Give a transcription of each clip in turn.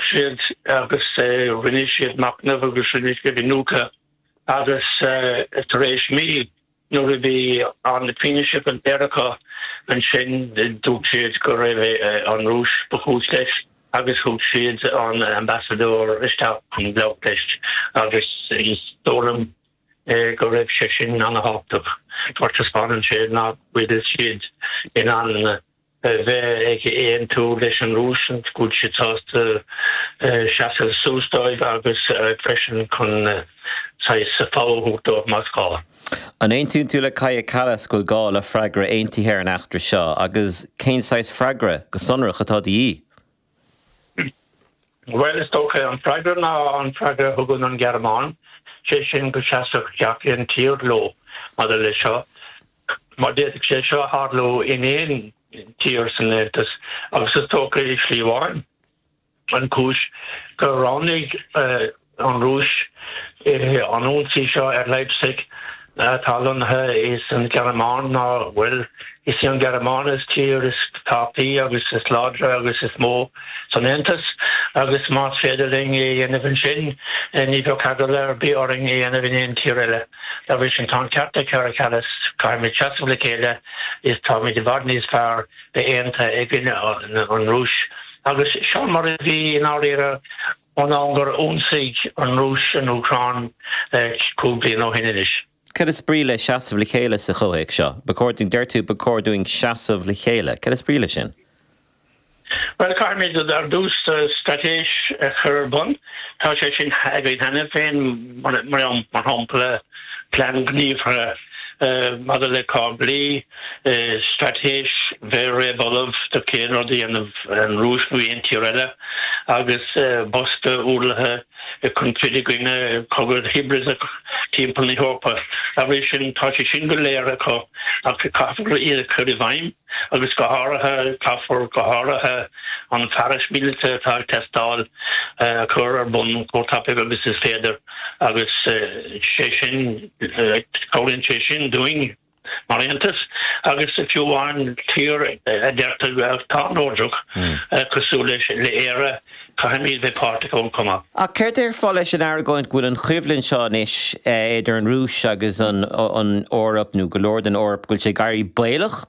siad agus rinne siad machnamh agus rinne siad iniúchadh agus tar éis mí nuair a bhí an fianaise go léir acu ansin dúirt siad go raibh an Rúis ba chúis leis agus thug siad an ambasadóir isteach chun labhairt leis agus is dóigh liom go raibh sé sin an-thábhachtach mar taispeánann sé nach bhfuil siad in ann bheith ag aontú leis an Rúis, go bhfuil siad sásta seasamh suas dóibh agus freisin chun saghas fogha a thabhairt dóibh más gá. An aontaíonn tú le Kaja Kallas go bhfuil gá le freagra aontaithe ar an eachtra seo agus cén saghas freagra, go sonrach, atá de dhíth? Bhuel, is dócha, an freagra ná an freagra a thugann an Ghearmáin, sé sin go seasfadh gach aon tír leo maidir leis seo. Mar d'fhéadfadh sé seo a tharlú in aon tír san Aontas agus is dócha i slí amháin an chúis gur roghnaigh an Rúis an ionsaí seo ar Leipzig atá lonnaithe san Ghearmáin ná, bhuel, is í an Ghearmáin is tír is tábhachtaí agus is láidre agus is mó san Aontas agus más féidir linn é a dhéanamh ansin ní bheadh eagla ar bith orainn é a dhéanamh in aon tír eile. Dá bhrí sin, tá an ceart ag Kaja Kallas, caithfimid seasamh le chéile is táimid i bhfad níos fearr bheith aontaithe i gcoinne an Rúis. Agus seo mar a bhí i ndáiríre ón am gur ionsaigh an Rúis an Úcráin 5 bliana ó shin anois. Cad is brí le seasamh le chéile sa chomhthéacs seo? Ba chóir dúinn, deir tú, ba chóir dúinn seasamh le chéile. Cad is brí leis sin? Bhuel, caithfimid ar dtús straitéis a chur ar bun. Tá sé sin againn cheana féin, mar shampla, plean gníomhartha maidir le cáblaí, straitéis bheith réamh-ullamh do cén rud a dhéanamh an Rúis nó aon tír eile, agus bosca ualaithe chun troid i gcoinne cogadh hibrideach timpeall na hEorpa. Dá bhrí sin, tá sé sin go léir acu ach caithfear iad a chur i bhfeidhm. agus go háirithe, caithfear go háirithe an fearas míleata atá ag teastáil a chur ar bun chomh tapaidh agus is féidir agus sé sin, cabhraíonn sé sin dúinn mar Aontas agus fiú amháin tír a deirtear atá neodrach cosúil le Éire, Caithfimid bheith páirteach ann chomh maith. Ach céard a déarfá leis an argóint go bhfuil an choimhlint seo anois idir an Rúis agus an Eoraip, nó go leor den Eoraip, go bhfuil sé ag éirí baolach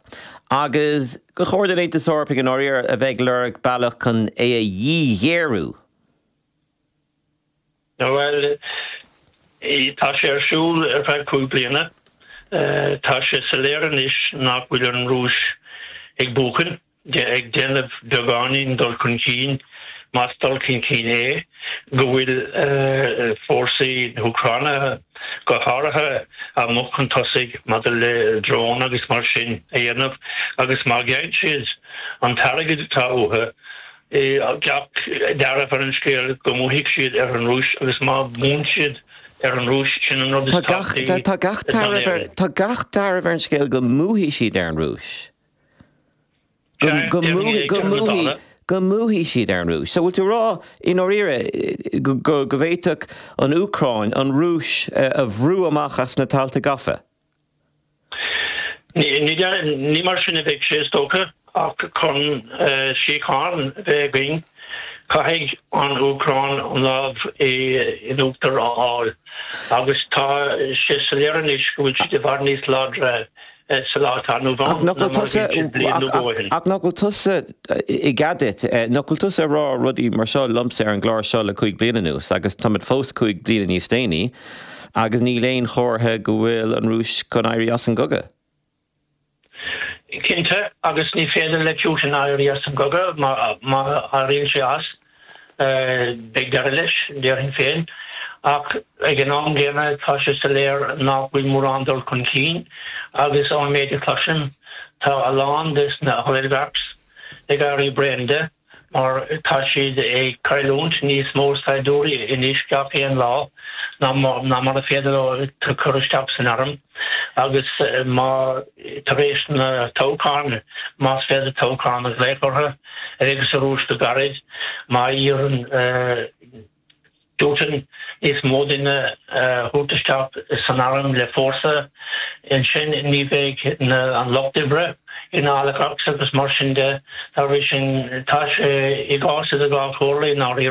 agus gur chóir don Aontas Eorpaigh i ndáiríre a bheith ag lorg bealach chun é a dhíghéarú? Bhuel, tá sé ar siúl ar feadh 5 bliana. Tá sé soiléir anois nach bhfuil an Rúis ag buachan. ag déanamh beagáinín dul chun cinn, más dul chun cinn é, go bhfuil fórsaí na hÚcráine go háirithe amuigh chun tosaigh maidir le dróin agus mar sin a dhéanamh agus má gheibheann siad an t-airgead atá uathu, gach dealramh ar an scéal go mbuafaidh siad ar an Rúis agus má bhuann siad ar an Rúis, sin an rud is tábhachtaí Tá gach dealramh ar an scéal go mbuafaidh siad ar an Rúis. Go go mbuafaidh siad ar an Rúis. So bhfuil tú ag rá i ndáiríre go bhféadfadh an Úcráin an Rúis a bhrú amach as na tailte gafa? Ní mar sin a bheidh sé is dócha, ach chun síocháin a bheith againn caithfidh an Úcráin an lámh in uachtar a fháil agus tá sé soiléir anois go bhfuil siad i bhfad níos láidre sa lá atá inniu ann ná mar a bhí siad bliain nó dhó ó shin. Ach nach bhfuil tusa, i gcead duit, nach bhfuil tusa ag rá rudaí mar seo liomsa ar an gclár seo le 5 bliana anuas agus táimid fós 5 bliana níos déanaí agus níl aon chomhartha go bhfuil an Rúis chun éirí as an gcogadh. Cinnte, agus ní féidir le Putin éirí as an gcogadh má éiríonn sé as. Beidh deireadh leis, déarfainn féin, ach ag an am gcéanna tá sé soiléir nach bhfuil mórán dul chun cinn agus ón méid a chloisim tá a lán des na oligarchs ag éirí bréan de mar tá siad ag cailliúint níos mó saighdiúirí anois gach aon lá ná mar a féidir leo cur isteach san arm agus má tar éis na toghcháin, más féidir toghcháin a ghlaoch orthu, a bheidh sa Rúis go gairid, má iarrann Putin níos mó daoine a thabhairt isteach san arm le fórsa, ansin ní bheidh an lucht oibre na oligarchs agus mar sin de. Dá bhrí sin, tá sé i gcás idir dhá chomhairle i ndáiríre.